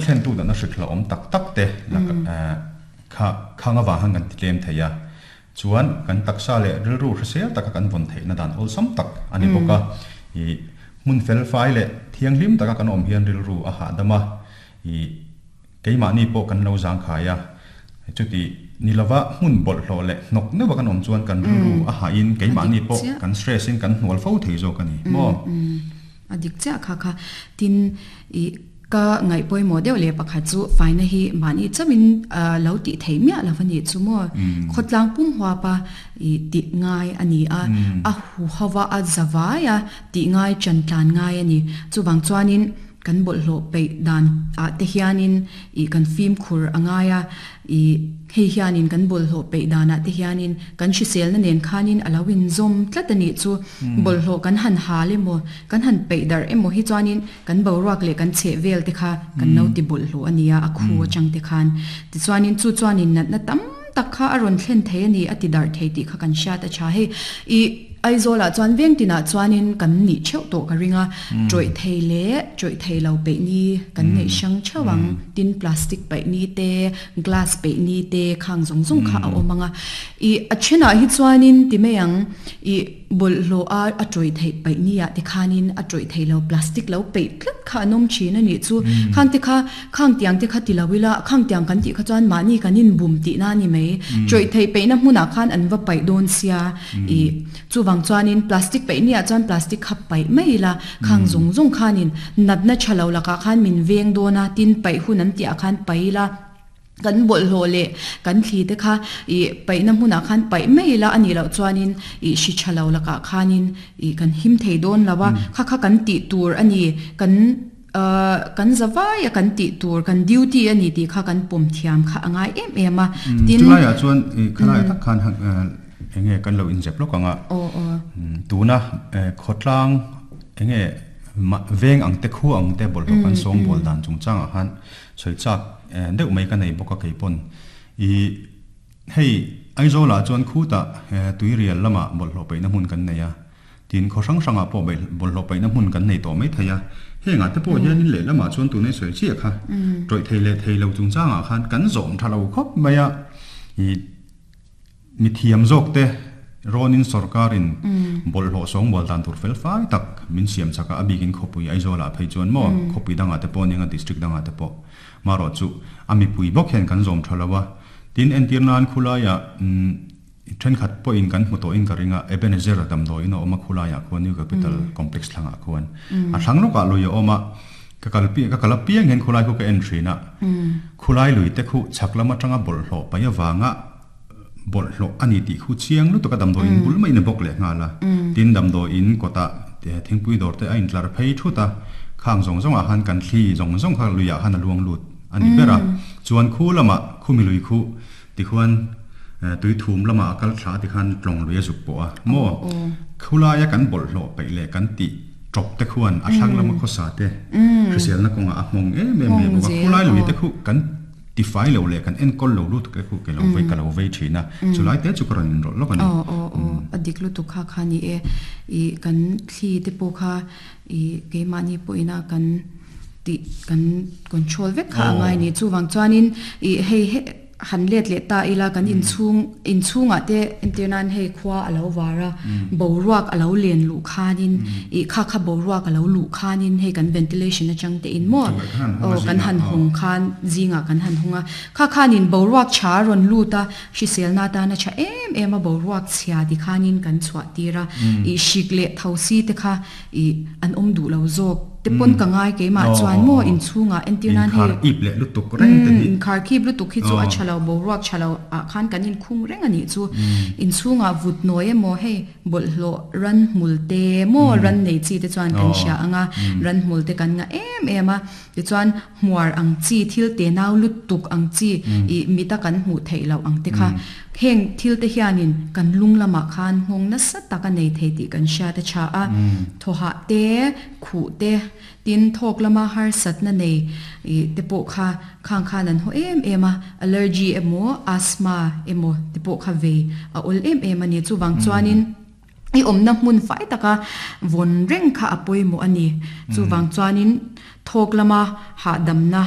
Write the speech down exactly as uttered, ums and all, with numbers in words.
thlen tu na hrik la om tak tak te kha khanga wa hang kan ti tlem theia chuan kan taksa le rilru hrisel taka kan von theih na dan ol sam tak ani boka i mun fel fai le thianghlim taka kan om hian rilru a ha dama i keima ni po kan lo zang khaya chuti nilawa mun bol hlo le nok ne wa kan om chuan kan rilru a ha in keima ni po kan stress in kan hnual fo thei zo kan ni mo adik cha kha kha tin i ka ngai poi mo deuh le pakhat chu faina hi mani chamin lo ti thei mia lawani chu mo khotlang pum hwa pa i ti ngai ani a a hu hawa a zawaya ti ngai chantlan ngai ani chu wang chuanin kan bol hlo pe dan a te hianin i kan fim khur angaya i hei hianin kan bol hlo pe dana te hianin kan hrisel na nen khanin alawin zom tlatani chu bol hlo kan han hale mo kan han pe dar emo hi chuanin kan boruak le kan che vel te kha kan no ti bol hlo ania a khu chang te khan ti chuanin chu chuanin nat na tam tak kha aron thlen thei ani ati dar thei ti kha kan sha ta cha hei i Aizola chuan veng tina chuanin kan ni cheu to ka ringa troi thei le troi thei lo pe ni kan nei sang chawang tin plastic pe ni te glass pe ni te khang zong zong kha a omanga i achena hi chuanin ti meyang i bol lo a a troi thei pe ni a te khanin a troi thei lo plastic lo pe tlat kha nom chin ani chu khang te kha khang tiang te kha ti lawila khang tiang kan ti kha chuan mani kanin bum ti na ni mai troi thei pe na hmuna khan an va pai don sia i chu wang chuanin plastic pe ni a chuan plastic khap pai mai la khang zong zong khanin nat na chalo laka khan min veng dona tin pai hun an ti a khan pai la kan bol ho le kan thli te kha i pai na hmuna khan pai mai la ani lo chuanin i shi chalo laka khanin i kan him thei don lawa kha kha kan ti tur ani kan kan zawai kan ti tur kan duty ani ti kha kan pom thiam kha angai em em a tin chulai chuan i khalai tak khan enge kan lo in zep lokanga o o tuna khotlang enge veng ang te khu ang te bol kan song bol dan chung changa han choi chak deuh mai ka nei boka keipon i hei Aizola chuan khu ta tui rial lama bol hlo peina hmun kan nei a tin kho sang sanga po bol hlo peina hmun kan nei to mai theia henga te po hian in le lama chuan tu nei soi chi kha troi thei le thei lo chung changa khan kan zom thalo khop maya i mi thiam zok te ronin sarkarin bol hlo song bol dan tur fel fai tak min siam chaka abikin khopui Aizola phei chuan mo khopui danga te po ninga district danga te po maro chu ami pui bok hen kan zom thalawa tin entirnan khulaya then khat po in kan hmuto in karinga Ebenezer dam do ina oma khulaya khuan New Capital Complex thlanga khuan a thlang loka loya oma ka kalpi ka kalapiang hen khulai khu ka entry na khulai lui te khu chaklama tanga bol hlo paya wanga bol hlo ani ti khu chiang lu to ka dam do in bul mai na bok le nga la tin dam do in kota te thingpui dor te a in tlar phei thuta khang zong zong a han kan thli zong zong kha luya han a luang lut ani bera chuan khu lama khu mi lui khu ti khuan tui thum lama kal thla ti khan tlong lui a zuk po a mo khula ya kan bol hlo pe le kan ti chop te khuan a thlang lama kho sa te hrisel na konga a hmong em em me bo khulai lui te khu kan ti fai lo le kan en kol lo lut ke khu ke lo ve ka lo ve thina chulai te chu karon in ro lo kan o o o adik lu tu kha kha ni e i kan thli te po kha i ke ma ni po ina kan ti kan control vek kha ngai ni chu wang chuanin i hei han let le ta ila kan in chung in chunga te internan hei khwa alo wara boruak alo len lu khanin i kha kha boruak alo lu khanin hei kan ventilation na chang te in mo o kan han hong khan zinga kan han honga kha khanin boruak cha ron lu ta hrisel na ta na cha em em a boruak chhia ti khanin kan chwa tira i shikle thosi te kha i an om du lo zok te pon ka ngai ke ma chuan mo in chunga entirnan he ip le lutuk reng te ni in khar khip lutuk hi chu a chalo boruak chalo a khan kan in khung reng ani chu in chunga vut noi mo hei bol hlo ran mul te mo ran nei chi te chuan kan sha anga ran mul te kan nga em em a ti chuan hmuar ang chi thil te nau lutuk ang chi i mita kan hmu thei lo ang te kha heng thil te hianin kan lung lama khan hong na sa taka nei thei ti kan sha te cha a thoha te khu te tin thok lama har sat na nei i te po kha khang khan an ho em em a allergy emo asthma emo te po kha ve a ol em em ani chu wang chuanin i om na hmun fai taka von reng kha apoi mo ani chu wang chuanin thok lama ha dam na